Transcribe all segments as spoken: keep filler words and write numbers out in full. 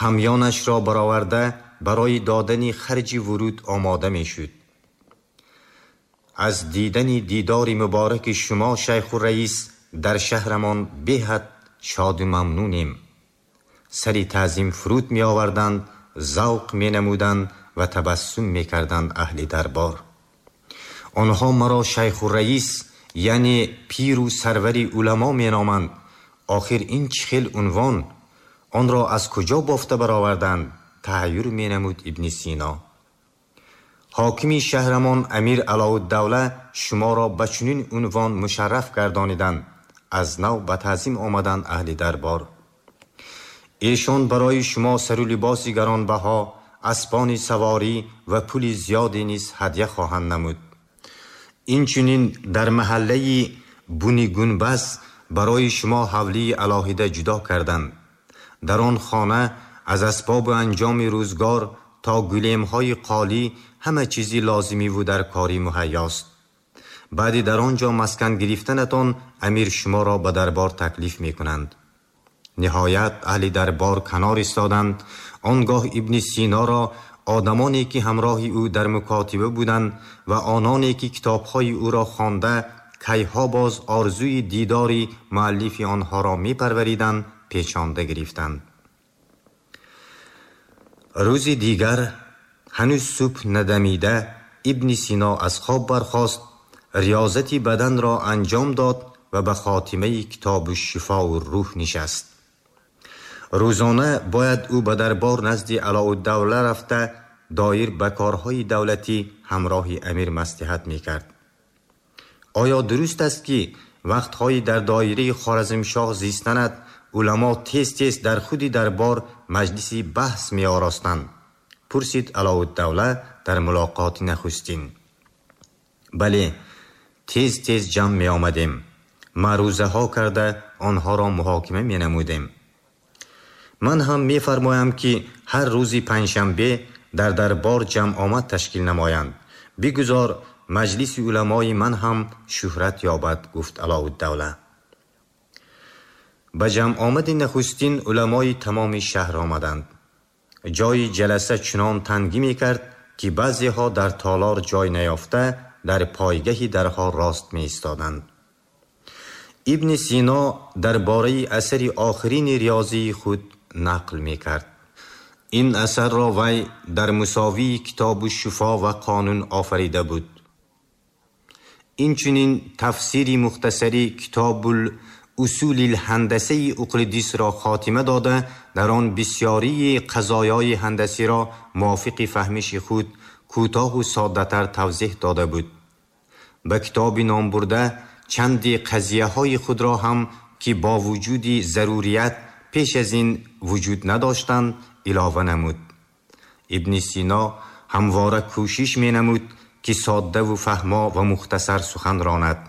ҳамёнашро бароварда барои додани харҷи вуруд омода мешуд. Аз дидани дидори мубораки шумо, шайху раис, дар шаҳрамон беҳад шоду мамнунем. Сари таъзим фуруд меоварданд, завқ менамуданд ва табассум мекарданд аҳли дарбор. Онҳо маро шайху раис, яъне пиру сарвари уламо меноманд. Охир ин чӣ хел унвон? Онро аз куҷо бофта бароварданд? Таҳайюр менамуд Ибни Сино. Ҳокими шаҳрамон Амир Алоуддавла шуморо ба чунин унвон мушарраф гардониданд. Аз нав ба таъзим омаданд аҳли дарбор. Эшон барои шумо сару либоси гаронбаҳо, аспони саворӣ ва пули зиёде низ ҳадя хоҳанд намуд. Инчунин дар маҳаллаи Бунигунбаз барои шумо ҳавлии алоҳида ҷудо карданд. Дар он хона аз асбобу анҷоми рӯзгор то гулемҳои қолӣ ҳама чизи лозимиву дар корӣ муҳайёст. Баъди дар он ҷо маскан гирифтанатон амир шуморо ба дарбор таклиф мекунанд. Ниҳоят аҳли дарбор канор истоданд. Он гоҳ Ибни Синоро одамоне ки ҳамроҳи ӯ дар мукотиба буданд ва ононе ки китобҳои ӯро хонда кайҳо боз орзуи дидори муаллифи онҳоро мепарвариданд, печонда гирифтанд. Рӯзи дигар ҳанӯз субҳ надамида Ибни Сино аз хоб бархост, риёзати баданро анҷом дод ва ба хотимаи китобу шифоу рӯҳ нишаст. Рӯзона бояд ӯ ба дарбор назди Алоуддавла рафта доир ба корҳои давлатӣ ҳамроҳи амир маслиҳат мекард. Оё дуруст аст ки вақтҳои дар доираи Хоразмшоҳ зистанат уламо тез-тез дар худи дарбор маҷлиси баҳс меоростанд? Пурсид Алоуддавла дар мулоқоти нахустин. Бале, тез-тез ҷамъ меомадем, маърузаҳо карда онҳоро муҳокима менамудем. Ман ҳам мефармоям ки ҳар рӯзи панҷшанбе дар дарбор ҷамъомад ташкил намоянд. Бигузор маҷлиси уламои ман ҳам шӯҳрат ёбад, гуфт Алоуддавла. Ба ҷамъомади нахустин уламои тамоми шаҳр омаданд. Ҷои ҷаласа чунон тангӣ мекард ки баъзеҳо дар толор ҷой наёфта дар пойгаҳи дарҳо рост меистоданд. Ибни Сино дар бораи асари охирини риёзии худ нақл мекард. Ин асарро вай дар мусовии китобу шифо ва қонун офарида буд. Инчунин тафсири мухтасари китобул усулил ҳандасаи Уқлидисро хотима дода, дар он бисёрии қазоёи ҳандасиро мувофиқи фаҳмиши худ кӯтоҳу соддатар тавзеҳ дода буд. Ба китоби номбурда чанди қазияҳои худро ҳам ки бо вуҷуди зарурият пеш аз ин вуҷуд надоштанд, илова намуд. Ибни Сино ҳамвора кӯшиш менамуд ки соддаву фаҳмо ва мухтасар сухан ронад.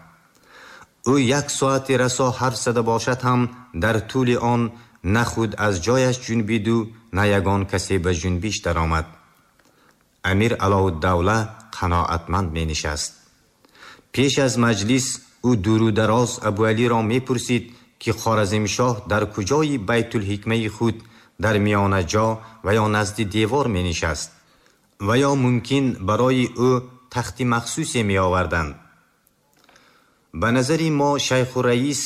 Ӯ як соати расо ҳарф зада бошад ҳам дар тӯли он на худ аз ҷояш ҷунбиду на ягон касе ба ҷунбиш даромад. Амир Алоуддавла қаноатманд менишаст. Пеш аз маҷлис ӯ дуру дароз Абуалиро мепурсид ки Хоразмшоҳ дар куҷои Байтулҳикмаи худ дар миёнаҷо ва ё назди девор менишаст ва ё мумкин барои ӯ тахти махсусе меоварданд. Ба назари мо шайху раис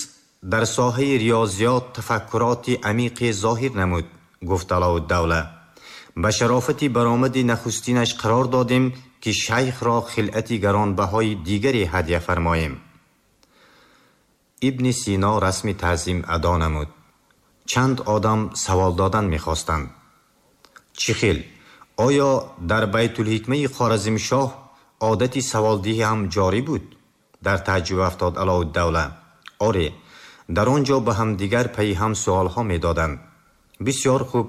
дар соҳаи риёзиёт тафаккуроти амиқе зоҳир намуд, гуфт Алоуддавла. Ба шарофати баромади нахустинаш қарор додем ки шайхро хилъати гаронбаҳои дигаре ҳадя фармоем. Ибни Сино расми таъзим адо намуд. Чанд одам савол додан мехостанд. Чӣ хел? Оё дар Байтулҳикмаи Хоразмшоҳ одати саволдиҳӣ ҳам ҷорӣ буд? Дар таъҷуб афтод Алоуддавла. Оре, дар он ҷо ба ҳамдигар пайи ҳам суолҳо медоданд. Бисёр хуб,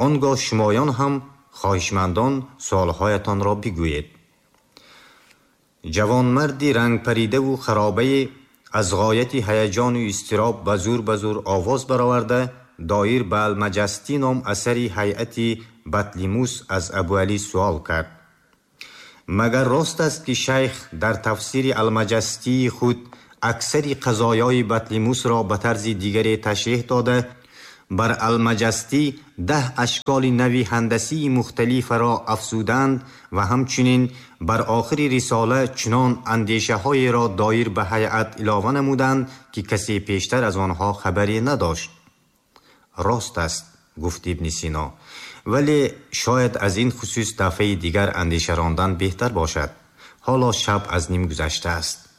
он гоҳ шумоён ҳам хоҳишмандон суолҳоятонро бигӯед. Ҷавонмарди рангпаридаву харобае аз ғояти ҳаяҷону изтироб ба зур ба зур овоз бароварда доир ба Алмаҷастӣ ном асари ҳайати Батлимус аз Абуалӣ суол кард. Магар рост аст ки шайх дар тафсири Алмаҷастии худ аксари қазоёи Батлимусро ба тарзи дигаре ташриҳ дода, بر المجستی ده اشکال نوی هندسی مختلف را افزودند و همچنین بر آخر رساله چنان اندیشه های را دایر به هیئت علاوه نمودند که کسی پیشتر از آنها خبری نداشت. راست است، گفت ابن سینا، ولی شاید از این خصوص دفعه دیگر اندیشه راندن بهتر باشد. حالا شب از نیم گذشته است.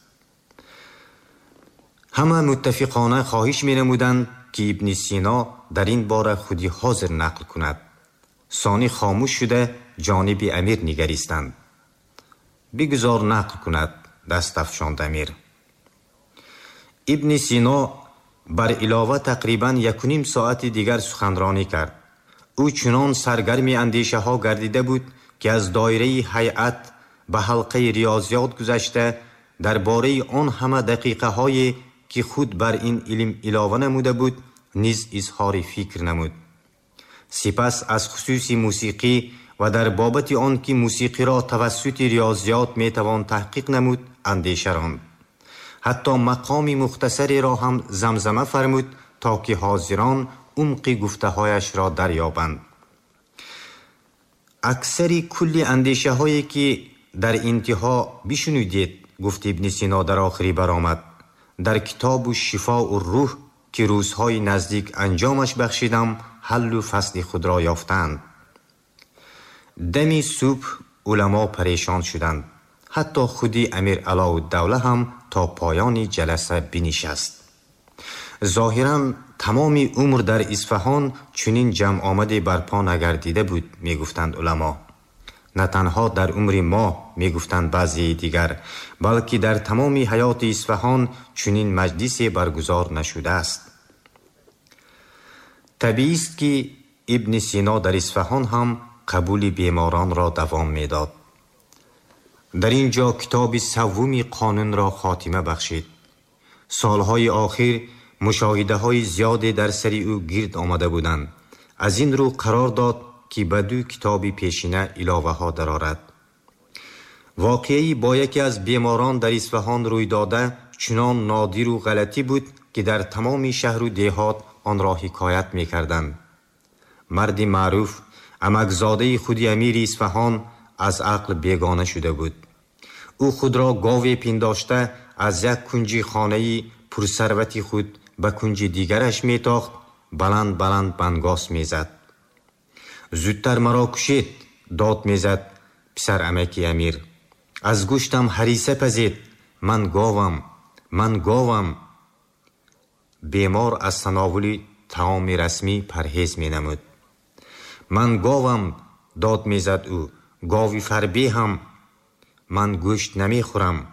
همه متفقانه خواهش می نمودند که ابن سینا در این باره خودی حاضر نقل کند. ثانی خاموش شده جانب امیر نگریستند. بگذار نقل کند، دست افشاند امیر. ابن سینا بر علاوه تقریبا یک و نیم ساعت دیگر سخنرانی کرد. او چنان سرگرم اندیشه ها گردیده بود که از دایره هیئت به حلقه ریاضیات گذشته درباره آن همه دقیقه های که خود بر این علم علاوه نموده بود نیز اظهار فکر نمود. سپس از خصوص موسیقی و در بابت آن که موسیقی را توسط ریاضیات میتوان تحقیق نمود اندیشه راند. حتی مقام مختصری را هم زمزمه فرمود تا که حاضران عمق گفته هایش را دریابند. اکثر کل اندیشه هایی که در انتها بشنودید، گفت ابن سینا در آخری برآمد، در کتاب شفاء الروح که روزهای نزدیک انجامش بخشیدم حل و فصل خود را یافتند. دمی صبح علما پریشان شدند. حتی خودی امیر علاءالدوله هم تا پایان جلسه بنشست. ظاهرا تمام عمر در اصفهان چنین جمع آمدی برپا نگردیده بود، میگفتند علما. نه تنها در عمر ما، میگفتند بعضی دیگر، بلکه در تمام حیات اصفهان چنین مجلسی برگزار نشده است. طبیعی است که ابن سینا در اصفهان هم قبول بیماران را دوام میداد. در اینجا کتاب سوم قانون را خاتمه بخشید. سالهای آخر مشاهده های زیادی در سر او گرد آمده بودند. از این رو قرار داد که به دو کتاب پیشینه علاوه ها درآرد. واقعی با یکی از بیماران در اصفهان روی داده چنان نادر و غلطی بود که در تمام شهر و دیهات آن را حکایت می کردند. مرد معروف عمکزاده خودی امیر اصفهان از عقل بیگانه شده بود. او خود را گاوی پنداشته از یک کنج خانه پرثروت خود به کنج دیگرش می تاخت، بلند بلند بنگاس می زد. زودتر مرا کشید، داد می زد پسر عمکی امیر. از گوشتم هریسه پزید، من گاوم، من گاوم. بیمار از تناول طعام رسمی پرهیز می نمود. من گاوم، داد می زد او، گاوی فربی هم، من گوشت نمی خورم.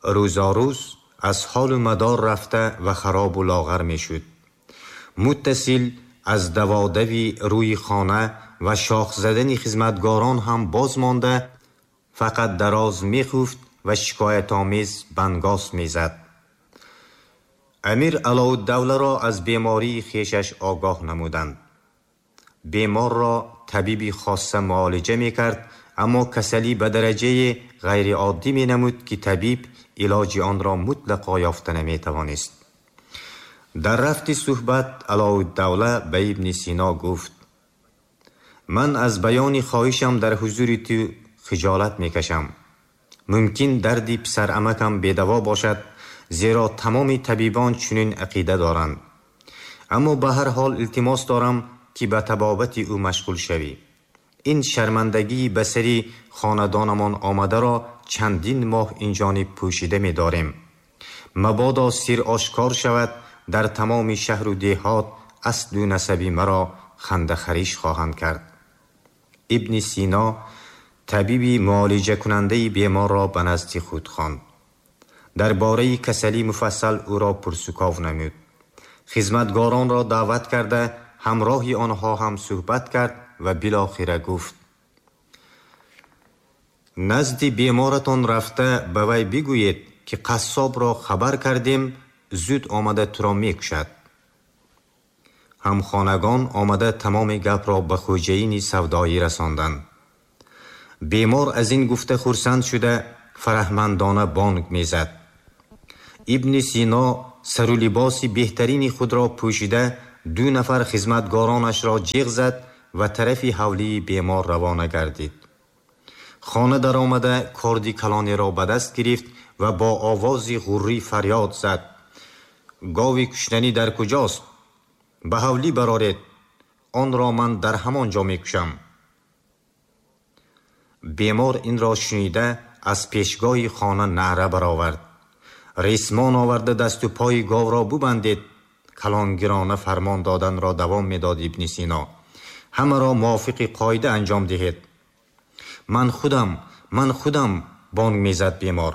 روزا روز از حال و مدار رفته و خراب و لاغر می شد. متصل از دوادوی روی خانه و شاخ زدن خدمتگاران هم باز مانده، فقط دراز می خفت و شکایت آمیز بنگاس می زد. امیر علاءالدوله را از بیماری خویشش آگاه نمودند. بیمار را طبیبی خاصه معالجه می کرد، اما کسلی به درجه غیر عادی می نمود که طبیب علاج آن را مطلقا یافته نمی توانست. در رفت صحبت علاءالدوله به ابن سینا گفت: من از بیان خواهشم در حضور تو خجالت می کشم. ممکن دردی پسر عمکم بیدوا باشد، زیرا تمام طبیبان چنین عقیده دارند. اما به هر حال التماس دارم که به طبابت او مشغول شوی. این شرمندگی به سری خاندانمان آمده را چندین ماه اینجانب پوشیده می داریم. مبادا سیر آشکار شود، در تمام شهر و دیهات اصل و نسبی مرا خنده خریش خواهند کرد. ابن سینا طبیبی معالجه کننده بیمار را به نزد خود خواند. درباره کسلی مفصل او را پرسکاو نمود. خدمتگاران را دعوت کرده همراه آنها هم صحبت کرد و بالاخره گفت: نزد بیمارتان رفته به وی بگویید که قصاب را خبر کردیم، زود آمده تو را میکشد. همخانگان آمده تمام گپ را به خوجهین سودایی رساندند. بیمار از این گفته خرسند شده فرهمندانه بانگ میزد. ابن سینا сару либоси беҳтарини худро пӯшида ду нафар хизматгоронашро ҷиғ зад ва тарафи ҳавлии бемор равона гардид. Хона даромада корди калонеро ба даст гирифт ва бо овози ғуррӣ фарёд зад: гови куштанӣ дар куҷост? Ба ҳавлӣ бароред, онро ман дар ҳамон ҷо мекушам. Бемор инро шунида аз пешгоҳи хона наъра баровард. Ресмон оварда дасту пои говро бубандед. Калонгирона фармон доданро давом медод Ибни Сино. Ҳамаро мувофиқи қоида анҷом диҳед. Ман худам, ман худам, бонг мезад бемор.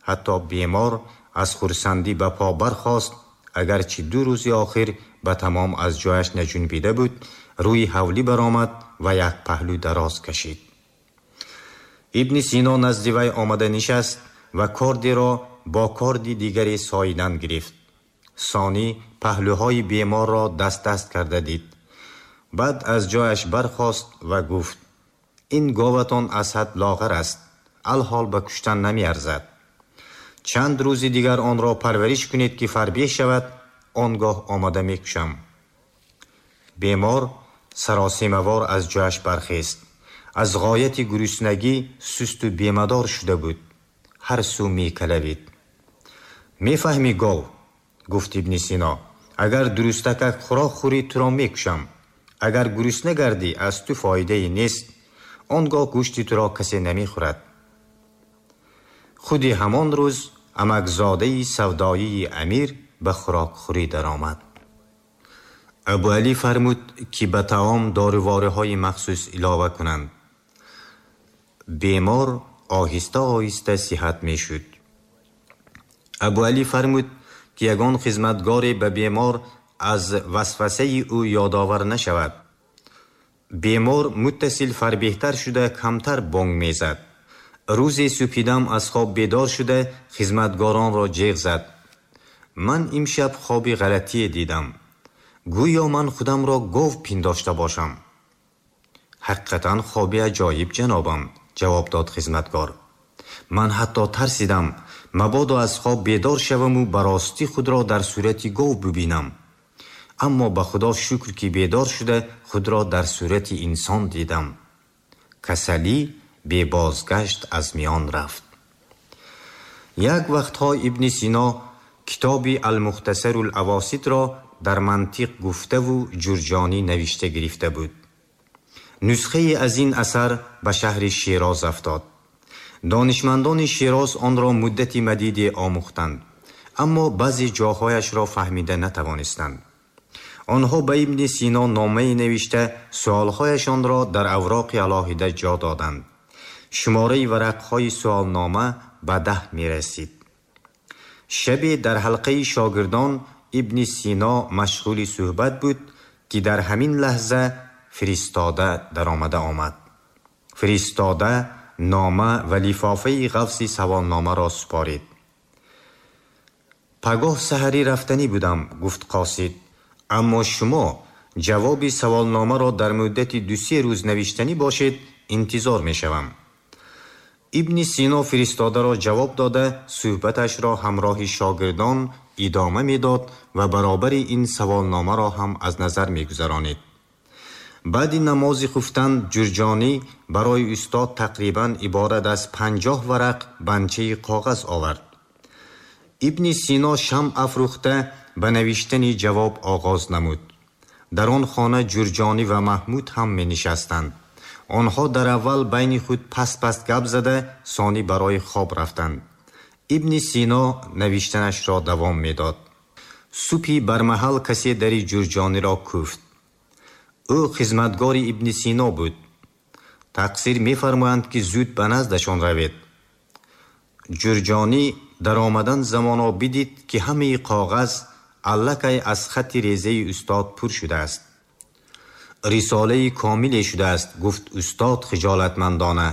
Ҳатто бемор аз хурсандӣ ба по бархост, агарчи ду рӯзи охир ба тамом аз ҷояш наҷунбида буд, рӯи ҳавлӣ баромад ва як паҳлӯ дароз кашид. Ибни Сино назди вай омада нишаст ва кордиро бо корди дигаре соидан гирифт. Сонӣ паҳлӯҳои беморро даст-даст карда дид. Баъд аз ҷояш бархост ва гуфт: ин говатон аз ҳад лоғар аст, алҳол ба куштан намеарзад. Чанд рӯзи дигар онро парвариш кунед ки фарбеҳ шавад, он гоҳ омада мекушам. Бемор саросемавор аз ҷояш бархест. Аз ғояти гуруснагӣ сусту бемадор шуда буд. Ҳар сӯ мекалавид. Мефаҳмӣ гов, гуфт Ибни Сино, агар дурустакак хӯрок хӯрӣ туро мекушам. Агар гурусна гардӣ аз ту фоидае нест, он гоҳ гӯшти туро касе намехӯрад. Худи ҳамон рӯз амакзодаи савдоии амир ба хӯрокхӯрӣ даромад. Абуалӣ фармуд ки ба таом дорувораҳои махсус илова кунанд. Бемор оҳиста оҳиста сиҳат мешуд. Абуалӣ фармуд ки ягон хизматгоре ба бемор аз васвасаи ӯ ёдовар нашавад. Бемор муттасил фарбеҳтар шуда камтар бонг мезад. Рӯзе субҳидам аз хоб бедор шуда хизматгоронро ҷеғ зад. Ман имшаб хоби ғалатие дидам. Гӯё ман худамро гов пиндошта бошам. Ҳақиқатан хоби аҷоиб, ҷанобам, ҷавоб дод хизматгор. Ман ҳатто тарсидам, мабодо аз хоб бедор шаваму ба ростӣ худро дар сурати гов бибинам. Аммо ба Худо шукр ки бедор шуда худро дар сурати инсон дидам. Касалӣ бебозгашт аз миён рафт. Як вақтҳо Ибни Сино китоби Алмухтасарул-Авоситро дар мантиқ гуфтаву Ҷурҷонӣ навишта гирифта буд. Нусхае аз ин асар ба шаҳри Шероз афтод. Донишмандони Шероз онро муддати мадиде омӯхтанд, аммо баъзе ҷоҳояшро фаҳмида натавонистанд. Онҳо ба Ибни Сино номае навишта суолҳояшонро дар авроқи алоҳида ҷо доданд. Шумораи варақҳои суолнома ба даҳ мерасид. Шабе дар ҳалқаи шогирдон Ибни Сино машғули суҳбат буд ки дар ҳамин лаҳза фиристода даромада омад. Фиристода нома ва лифофаи ғафси саволномаро супорид. Пагоҳ саҳарӣ рафтанӣ будам, гуфт қосид, аммо шумо ҷавоби саволномаро дар муддати ду-се рӯз навиштанӣ бошед, интизор мешавам. Ибни Сино фиристодаро ҷавоб дода суҳбаташро ҳамроҳи шогирдон идома медод ва баробари ин саволномаро ҳам аз назар мегузаронид. Баъди намози хуфтан Ҷурҷонӣ барои устод тақрибан иборат аз панҷоҳ варақ банчаи коғаз овард. Ибни Сино шамъ афрӯхта ба навиштани ҷавоб оғоз намуд. Дар он хона Ҷурҷонӣ ва Маҳмуд ҳам менишастанд. Онҳо дар аввал байни худ паст-паст гап зада, сонӣ барои хоб рафтанд. Ибни Сино навиштанашро давом медод. Субҳи бармаҳал касе дари Ҷурҷониро кӯфт. Ӯ хизматгори Ибни Сино буд. Тақсир мефармоянд ки зуд ба наздашон равед. Ҷурҷонӣ дар омадан замоно бидид ки ҳамаи коғаз аллакай аз хатти резаи устод пур шудааст. Рисолаи комиле шудааст, гуфт устод хиҷолатмандона.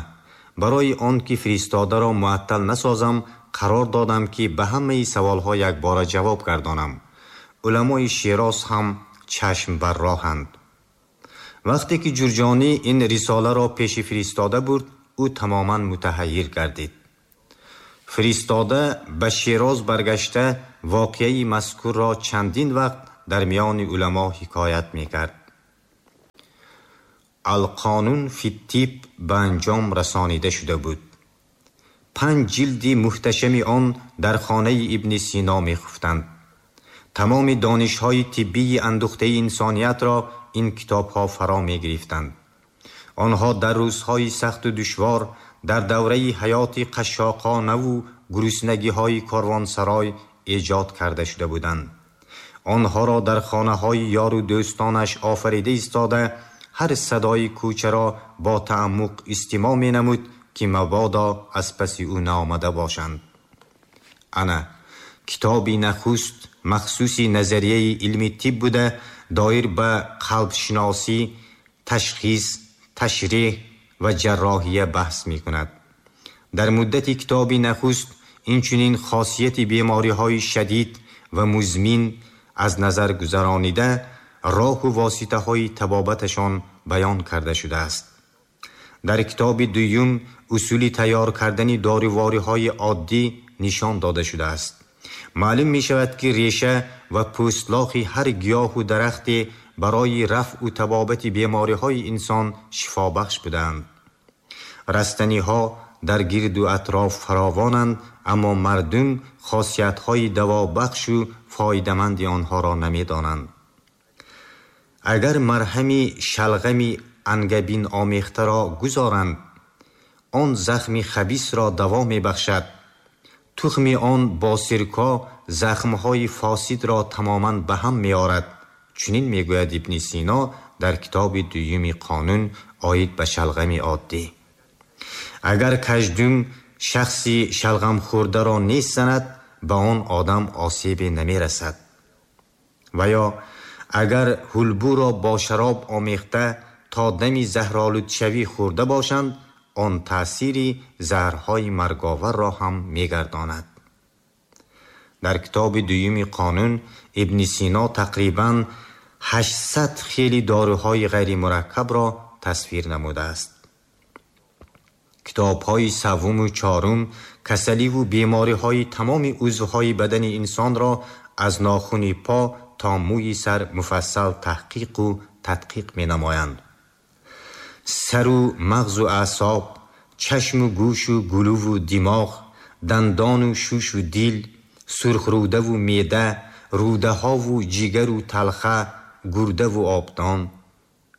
Барои он ки фиристодаро муаттал насозам, қарор додам ки ба ҳамаи саволҳо якбора ҷавоб гардонам. Уламои Шероз ҳам чашм бар роҳанд. Вақте ки Ҷурҷонӣ ин рисоларо пеши фиристода бурд, ӯ тамоман мутаҳаййир гардид. Фиристода ба Шероз баргашта воқеаи мазкурро чандин вақт дар миёни уламо ҳикоят мекард. Алқонун фи ттиб ба анҷом расонида шуда буд. Панҷ ҷилди муҳташами он дар хонаи Ибни Сино мехуфтанд. Тамоми донишҳои тиббии андухтаи инсониятро ин китобҳо фаро мегирифтанд. Онҳо дар рӯзҳои сахту душвор, дар давраи ҳаёти қашшоқонаву гуруснагиҳои корвонсарой эҷод карда шуда буданд. Онҳоро дар хонаҳои ёру дӯстонаш офарида истода, ҳар садои кӯчаро бо таъаммуқ истимоъ менамуд, ки мабодо аз паси ӯ наомада бошанд. Ана китоби нахуст махсуси назарияи илми тиб буда, доир ба қалбшиносӣ, ташхис, ташреҳ ва ҷарроҳия баҳс мекунад. Дар муддати китоби нахуст инчунин хосияти бемориҳои шадид ва музмин аз назар гузаронида, роҳу воситаҳои табобаташон баён карда шудааст. Дар китоби дуюм усули тайёр кардани дорувориҳои оддӣ нишон дода шудааст. Маълум мешавад, ки реша ва пӯстлохи ҳар гиёҳу дарахте барои рафъу табобати бемориҳои инсон шифобахш будаанд. Растаниҳо дар гирду атроф фаровонанд, аммо мардум хосиятҳои давобахшу фоидаманди онҳоро намедонанд. Агар марҳами шалғами ангабин омехтаро гузоранд, он захми хабисро даво мебахшад. Тухми он бо сирко захмҳои фосидро тамоман ба ҳам меорад. Чунин мегӯяд Ибни Сино дар китоби дуюми қонун оид ба шалғами оддӣ. Агар каждум шахси шалғамхӯрдаро нест занад, ба он одам осебе намерасад. Ва ё агар ҳулбуро бо шароб омехта то дами заҳролудшавӣ хӯрда бошанд, он таъсири заҳрҳои марговарро ҳам мегардонад. Дар китоби дуюми қонун Ибни Сино тақрибан ҳаштсад хели доруҳои ғайримураккабро тасвир намудааст. Китобҳои севуму чорум касаливу бемориҳои тамоми узвҳои бадани инсонро аз нохуни по то мӯи сар муфассал таҳқиқу тадқиқ менамоянд. Сару мағзу аъсоб, чашму гӯшу гулуву димоғ, дандону шушу дил, сурхрӯдаву меъда, рӯдаҳову ҷигару талха, гурдаву обдон.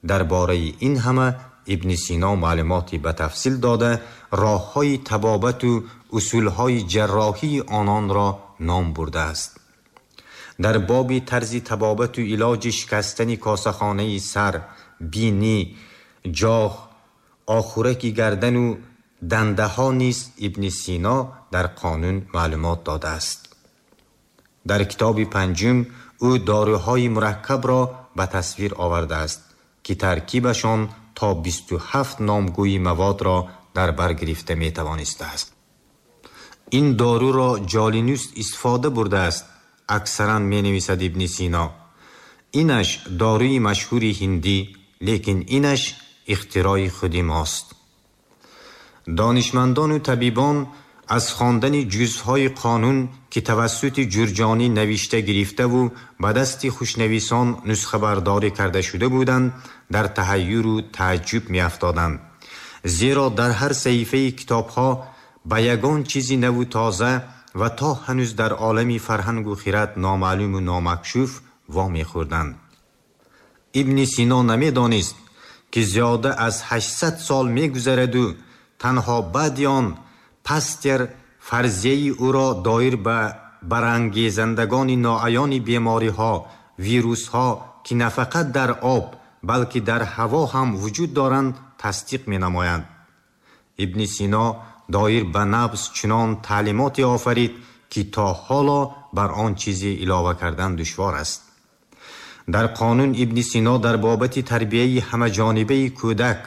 Дар бораи ин ҳама Ибни Сино маълумоти ба тафсил дода, роҳҳои табобату усулҳои ҷарроҳии ононро ном бурдааст. Дар боби тарзи табобату илоҷи шикастани косахонаи сар, бинӣ, ҷоғ, охураки гардану дандаҳо низ Ибни Сино дар қонун маълумот додааст. Дар китоби панҷум ӯ доруҳои мураккабро ба тасвир овардааст, ки таркибашон то бисту ҳафт номгӯи маводро дар бар гирифта метавонистааст. Ин доруро Ҷолинус истифода бурдааст, аксаран менависад Ибни Сино. Инаш доруи машҳури ҳиндӣ, лекин инаш ихтирои худи мост. Донишмандону табибон аз хондани ҷузъҳои қонун, ки тавассути Ҷурҷонӣ навишта гирифтаву ба дасти хушнависон нусхабардорӣ карда шуда буданд, дар таҳайюру тааҷҷуб меафтоданд. Зеро дар ҳар саҳифаи китобҳо ба ягон чизи наву тоза ва то ҳанӯз дар олами фарҳангу хират номаълуму номакшуф вомехӯрданд. Ибни Сино намедонист, ки зиёда аз ҳаштсад сол мегузараду танҳо баъди он Пастер фарзияи ӯро доир ба барангезандагони ноаёни бемориҳо, вирусҳо, ки на фақат дар об, балки дар ҳаво ҳам вуҷуд доранд, тасдиқ менамоянд. Ибни Сино доир ба набз чунон таълимоте офарид, ки то ҳоло бар он чизе илова кардан душвор аст. Дар қонун Ибни Сино дар бобати тарбияи ҳамаҷонибаи кӯдак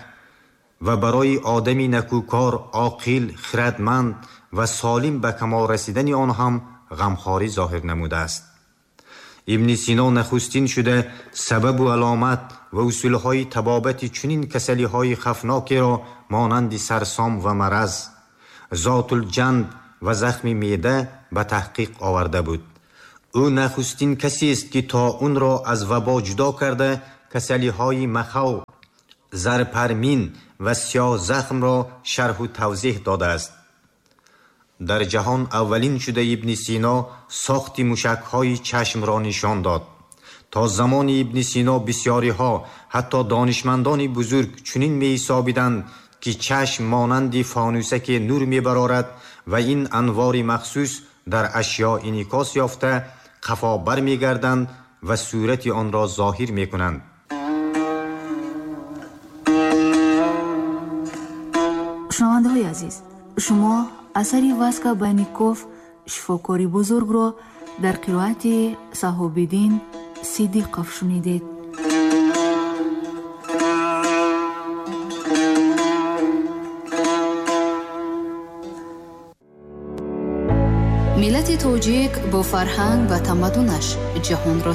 ва барои одами накӯкор, оқил, хирадманд ва солим ба камол расидани он ҳам ғамхорӣ зоҳир намудааст. Ибни Сино нахустин шуда сабабу аломат ва усулҳои табобати чунин касалиҳои хафнокеро монанди сарсом ва мараз, зотулҷанб و زخم معده به تحقیق آورده بود. او نخستین کسی است که طاعون را از وبا جدا کرده کسلی‌های مخو، زرپرمین و سیاه زخم را شرح و توضیح داده است. در جهان اولین شده ابن سینا ساخت موشک‌های چشم را نشان داد. تا زمان ابن سینا بسیاری‌ها حتی دانشمندان بزرگ چنین می‌حسابیدند که چشم مانند فانوسک نور می‌برارد و این انوار مخصوص در اشیا انعکاس یافته قفا برمی‌گردند و صورت آن را ظاهر می‌کنند. шунавандаҳои азиз, шумо асари Васка Банников шифокори бузургро дар қироати Саҳобиддин Сидиқов шунидед. Миллати тоҷик бо фарҳанг ва тамаддунаш ҷаҳонро